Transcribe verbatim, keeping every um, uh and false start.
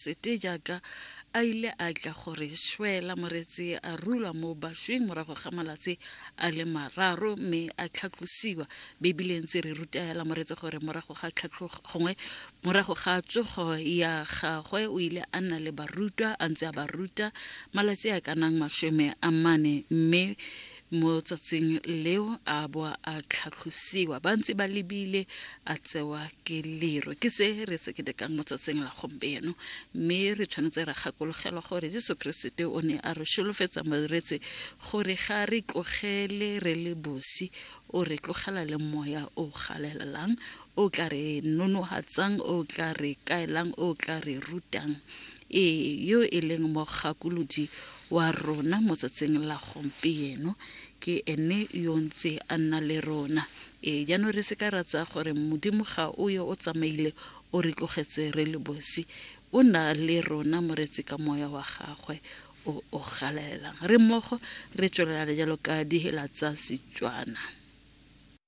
Sete jaaka a ile a tla gore swela moretsi a rula mo bašweng morago ga malatsi a le mararo mme a tlhatlosiwa. Bebile ntse re ruta hela moretsi gore morago ga tlhatlhogo gongwe morago ga tsogo ya gagwe o ile a nna le barutwa a ntse a ba ruta malatsi a ka nang masome a mane, mme mo tsatsing leo a bo a tlhatlosiwa ba ntse ba lebile a tsewa ke lero. Ke se re se ketekang mo tsatsing la gompieno, mme re tshwanetse ra gakologelwa gore Jesu Keresete o ne a re solofetsa moretsi gore ga re tlogele re le bosi, o re tlogela le moya o galelelang, o tla re nonohatsang, o tla re kaelang, o tla re rutang. Ee, yo e leng mogakolodi wa rona mo tsatsing la gompieno ke ene yo ntse a nna le rona. Ee, jaanong re se ka ra tsaya gore Modimo ga o yo o tsamaile o re tlogetse re le bosi, o na le rona moretsi ka moya wa gagwe o o galelelang. Re mmogo re tswelela jalo ka dihela tsa Setswana.